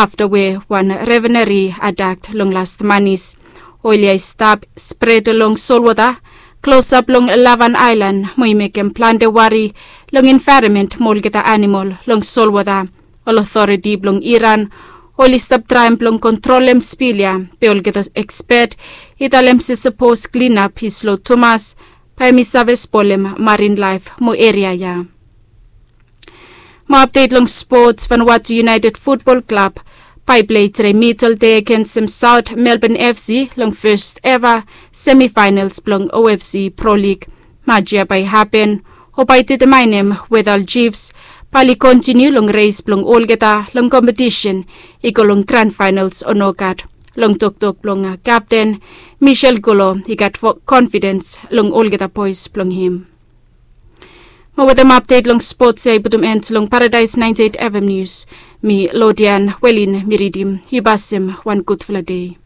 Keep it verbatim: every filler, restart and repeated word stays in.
afta we wan reveneri atak long last manis. Oli ya i stap spred long solwota klosap long lavan aelan mo i mekem plante wari long envaeronmen mo olgeta animol long solwota. Ol otoriti blong Iran oli stap traem blong kontrolem spil ya, be olgeta ekspet i talem se sapos klinap i slo tumas, bae hem i save spolem marin laef mo eria ya. Mo apdet long spots, Vanuatu United Futbol Klab bae i plei tre midel dei agensem Saot Melbon F C long fes eva semifaenals blong O F C Pro Lig. Match ya bae i hapen o bae i detemaenem weta ol Chiefs bae oli kontiniu long res blong olgeta long kompetisen i go long gran faenals o nogat. Long toktok blong kapten Michel Golo, i gat konfidens long olgeta boes blong hem. Mo wetem apdet long spots ya i putum en long Paradaes naenti eit F M Nius, mi Lodian Welin mi ridim. Yu basim wan gudfala dei.